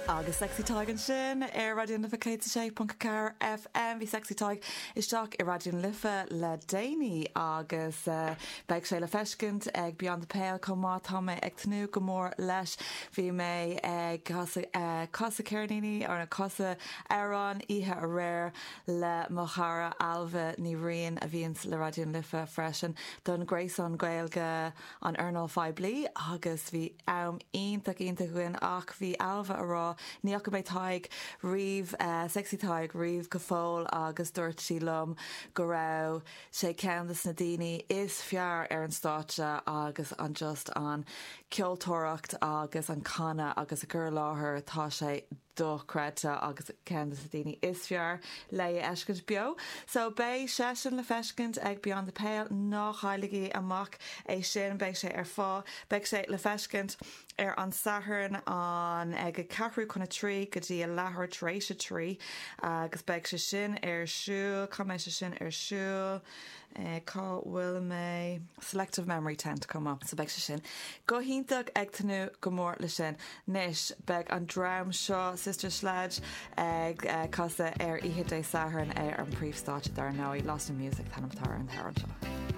Agus Sexy Tadhg ansin ar Raidió na Life 106.4 FM. Bhí Sexy Tadhg isteach i Raidió na Life le déanaí agus beidh sé le feiscint ag Beyond the Pale chomh maith. Tá mé ag tnúth go mór leis. Bhí mé ag casadh ceirníní or casadh amhrán oíche aréir le mo chara Ailbhe Ní Riain a bhíonns le Raidió na Life freisin don Gréasán Gaeilge an Earnáil Phoiblí agus bhí am iontach iontach againn ach bhí Ailbhe a rá ní fhaca mé Tadhg riamh, Sexy Tadhg riamh go fóill agus dúirt sí liom go raibh sé ceann de na daoine is fearr ar an stáitse agus an just an ceoltóireacht agus an canadh agus a cur i láthair tá sé dochreidte agus ceann de na daoine is fearr le é a fheiscint beo. So beidh seisean le feiscint ag Beyond the Pale, ná cailligí amach é sin, beidh sé ar fáil, beidh sé le feiscint ar an Satharn an ag a ceathrú chun a trí go dtí a leathuair tar éis a trí agus beidh sé sin ar siúl, cá mbeidh sé sin ar siúl? Cá bhfuil mé? Selective Memory Tent chomh maith. So beidh sé sin go hiontach ag tnúth go mór le sin. Anois beidh an dream seo, Sister Sledge, ag casadh ar oíche Dé Sathairn ar an príomhstáitse dar ndóigh. Lost in Music an t-ainm atá ar an t-amhrán seo.